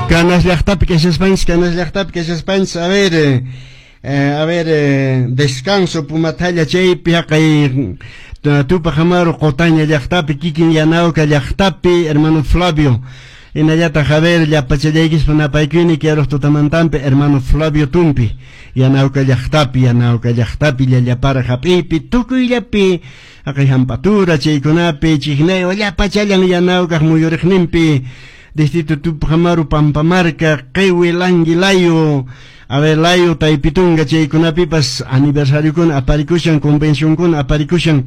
Canas llaqtapi kashaspanchis, Canas llaqtapi kashaspanchis, a ver, a ver, descanso Pumathalla chaypi haqay Tupac Amaru Qotaña llaqtapi, kikin Yanauka llaqtapi, hermano Flavio. Hinallataq, a ver, llapachallaykispa napaykuyni kiaruq tutamantampi, hermano Flavio Tumpi, Yanauka llaqtapi, Yanauka llaqtapi, llallapara hap'iypi, tukuyllapi, haqay hamp'atura chaykunapi, Chicnayo, llapachallan Yanaukaq muyuriqninpi, distrito Tupac Amaru, Pampamarca, Qiwi, Langui, Layo, a ver, Layo, Taypitunga, chaykunapipas aniversariokuna aparikushan, convencionkuna aparikushan,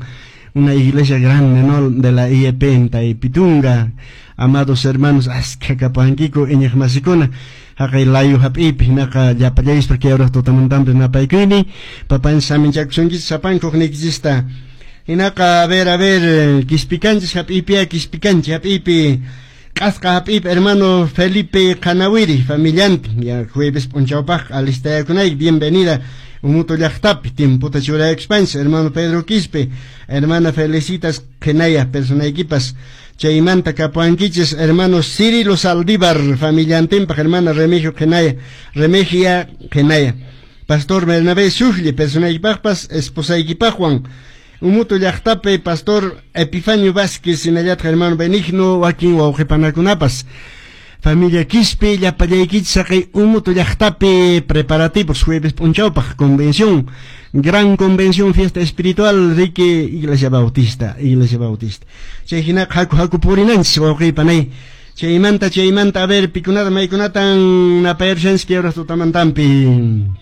una iglesia grande, ¿no?, de la IEP en Taypitunga. Amados hermanos, askha kapankiku iñiqmasikuna haqay Layo hap'iypi, hinaqa llapallayispa kay tutamantampi napaykuyni, papanchis saminchakusunkichis sapankuq niykichista. Hinaqa, a ver, a ver, Quispicanchis hap'iypiya, Quispicanchi hap'iypi, Q'asqa hap'iypi, hermano Felipe Qanawiri familiantin, ya jueves p'unchawpaq alistayakunayki, bienvenida Umuto llaqtapi, tiempota churayakuspanchis, hermano Pedro Quispe, hermana Felicitas Qenaya, personaykipas. Chaymanta kapuankichis hermano Cirilo Saldívar familiantinpaq, hermana Remigio Qenaya, Remigia Qenaya, pastor Bernabé Sujli personaykipaqpas esposaykipaqwan. Umuto llaqtapi pastor Epifanio Vázquez, hinallataq hermano Benigno, wakin wawqipanakunapas. Familia Quispe, llapallaykichis haqay Umuto llaqtapi preparativos jueves p'unchawpaq, convención, gran convención, fiesta espiritual, Rique, Iglesia Bautista, Iglesia Bautista. Chay hinaqa haku haku purinanchis, wawqipanay. Chaymanta, chaymanta, a ver, pikunata maykunatan napayarushanchis kay tutamantampi.